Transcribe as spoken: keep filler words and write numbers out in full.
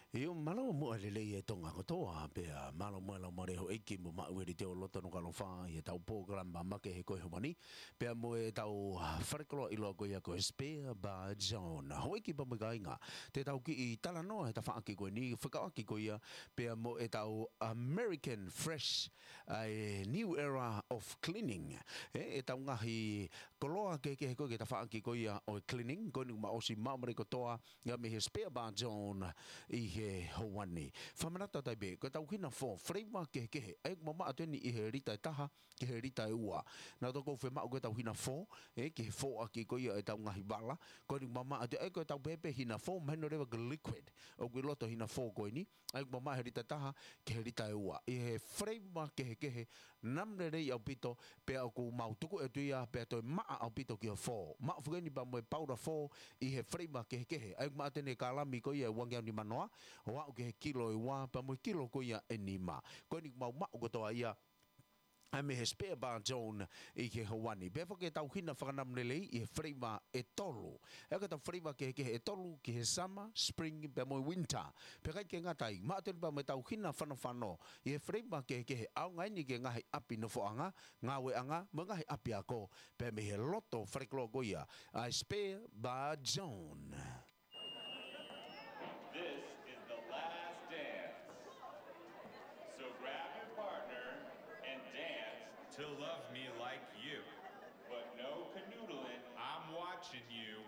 ʻIo, mālō muʻa e lelei ʻa Tonga kotoa, pea mālō muʻa e laumālie ʻo e ʻEiki mo maʻu e liteʻi loto ʻoku ʻaloʻofa ʻi heʻetau polokalama makehe ko e ʻaho ni, pea mo ʻetau, ah, falekoloa ʻiloa ko ia ko e Spare Bar John. Houʻeiki pea mo e kāinga, te tau kiʻi talanoa he tafaʻaki ko eni, fekauʻaki ko ia pea mo ʻetau American Fresh, ʻa e New Era of Cleaning. ʻE, ʻetau ngaahi koloa kehekehe ko ē ki he tafaʻaki ko ia ʻo e cleaning, ko eni kuo ma ʻosi maʻu mai kotoa ia mei he Spare Bar John ʻi he houa ni. Fakamanatu atu ai pē, ko ʻetau hina fō, flavor kehekehe, ʻa ia ʻoku mamaʻo atu eni ʻi he lita ʻe taha ki he lita ʻe ua. Naʻa tau ʻosi fiemaʻu ko ʻetau hina fō, ʻe, ki he fōʻaki ko ia ʻetau ngaahi vala, ko eni kuo mamaʻo atu, ʻa ia ko ʻetau pehē pē hina fō, mahino leva ko e liquid ʻoku ʻi loto hina fō ko eni, ʻa ia ʻoku mamaʻo he lita ʻe taha ki he lita ʻe ua. ʻI he flavor kehekehe, namu lelei ʻaupito, pea ʻoku mau tuku atu ia, pea toe maʻa ʻaupito ki he fō. Maʻu foki eni pea mo e paula fō ʻi he flavor kehekehe. ʻA ia ʻoku maʻu atu eni e kalami ko ia ʻe uangeau nima noa, ʻo aʻu ki he kilo ʻe ua, pea mo e kilo ko ia ʻe nima. Ko eni ʻoku mau maʻu kotoa ia, ʻa ia mei he Spare Bar John ʻi he houa ni. Pea foki ʻetau hina fakanamu lelei ʻi he flavor ʻe tolu. ʻA ia ko ʻetau flavor kehekehe ʻe tolu ki he summer, spring, pea mo e winter. Pea ʻikai ke ngata ai, maʻu atu eni pea mo ʻetau hina fanofano ʻi he flavor kehekehe, ʻaonga eni ki he ngaahi ʻapi nofoʻanga, ngāueʻanga, mo e ngaahi ʻapiako, pea mei he loto falekoloa ko ia ʻa e Spare Bar John. This is the last dance. So grab your partner and dance to Love Me Like You. But no canoodling. I'm watching you.